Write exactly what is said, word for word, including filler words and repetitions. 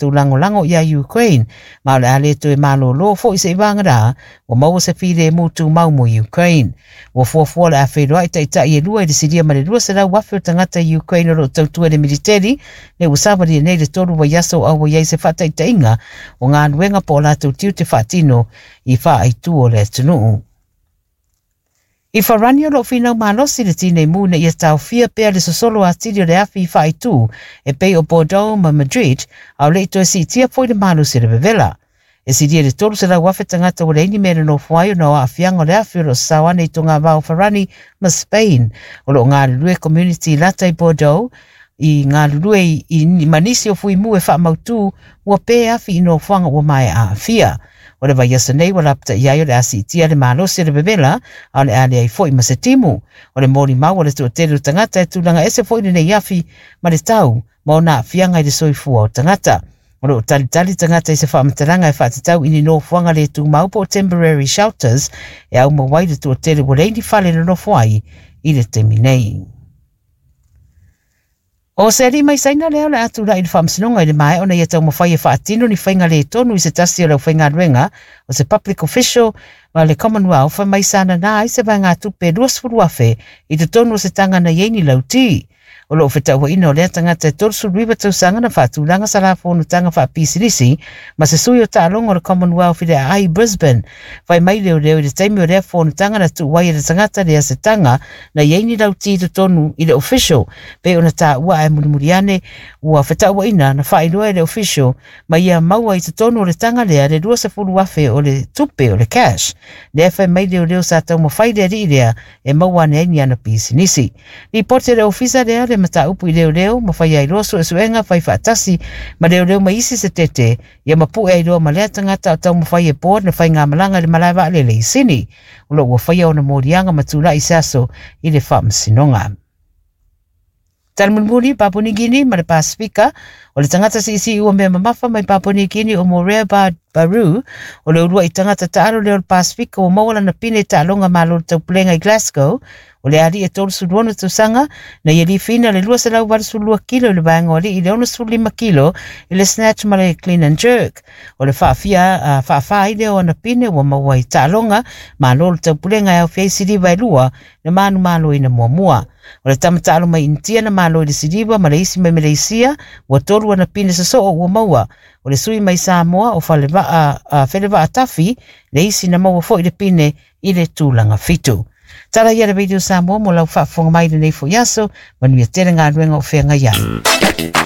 latou lagolago iā Ukraine, ma o le a le toe malōlō fo'i se'i vagana ua maua se filemu tumau mo Ukraine. Ua fuafua le a feiloa'i taita'i e lua i le silia ma le lua selau afe o tagata i Ukraine o loo tautua i le militeli le ua savalia nei le tolu vaiaso o auai ai se faataitaiga o galuega po o latou tiute faatino i faaaitu o le atunuu. I Farani o loo finau malosi le tinei mu ina ia taofia pea le sosolo atili o le afi i faaitu e pei o Bordeaux ma Madrid, a o le'i toe siitia foi le malosi o le vevela. E silia le tolu selau afe tagata ua leai ni mea e nonofo ai ona o aafiaga o le afi o loo sasao ane i togavao Farani ma Spain. O loo galulue community lata i Bordeaux i galulue i, i ma nisi o fuimu e faamautū ua pē afi i nofoaga ua maea aafia. O le vaiaso nei ua lapata'i ai o le a siitia le malosi o le vevela, a o le a leai fo'i ma se timu. O le molimau o le toatele o tagata e tulaga ese fo'i lenei afi ma le tau ma ona aafiaga i le soifua o tagata. O loo talitali tagata i se faamatalaga e faatatau i ni nofoaga le tumau po o temporary shelters e aumau ai le toatele ua leai ni fale nonofo ai i le taimi nei. O se alii mai Saina lea o le a tula'i i le faamasinoga i le maea ona ia taumafai e faatino ni faiga le tonu i se tasi o le aufaigaluega o se public official ma le Commonwealth mai sa nanā ai se vaegatupe luasefulu afe i totonu o se taga na i ai ni lautī. O loo fetauaina o lea tagata e tolusefulu iva tausaga na faatulaga sa la fonotaga faapisinisi ma se sui o taaloga o le Commonwealth i le aai Brisbane. Fai mai leoleo i le taimi o lea fonotaga na tuu ai e le tagata lea se taga na i ai ni lautī totonu i le official pei ona taua, ae mulimuli ane ua fetauaina na faailoa e le official ma ia maua i totonu o le taga lea le luasefulu afe o le tupe o le cash. Lea fai mai leoleo sa taumafai le alii lea e maua ane ai ni ana pisinisi. Lipoti e le ofisa lea le mataupu i leoleo ma fai ai loa suesuega fai faatasi ma leoleo ma isi se tete ia mapu'e ai loa ma lea tagata o taumafai e board na faigamalaga i le malae vaalele i Sini. O loo ua faia ona moliaga ma tula'i se aso i le faamasinoga. Tala mulimuli, Papua New Guinea ma le Pasifika. O le tagata siisii ua mea mamafa mai Papua New Guinea o Morea Baru o le uluai tagata taalo lea o le Pasifika ua maua lana pine taaloga malo le taupulega i Glasgow. O le alii e tolusefulu ono tausaga na ia lifiina le lua selau valusefulu lua kilo i le vaega o alii i le onosefulu lima kilo i le snatch ma le clean and jerk. O le faafia uh, faafā ai lea o ana pine ua maua i taaloga malo le taupulega e aofia ai siliva e lua na manumaloina muamua. O le tama taalo mai Initia na malo i le siliva ma le isi mai Maleisia ua tolu ana pine sosoo ua maua. O le sui mai Samoa o Falevaa uh, Felevaa Tafi le isi na maua foi le pine i le tulaga fitu. Tala ia le Radio Samoa mo lau faafofoga mai lenei foi aso. Manuia tele galuega o feagai ai.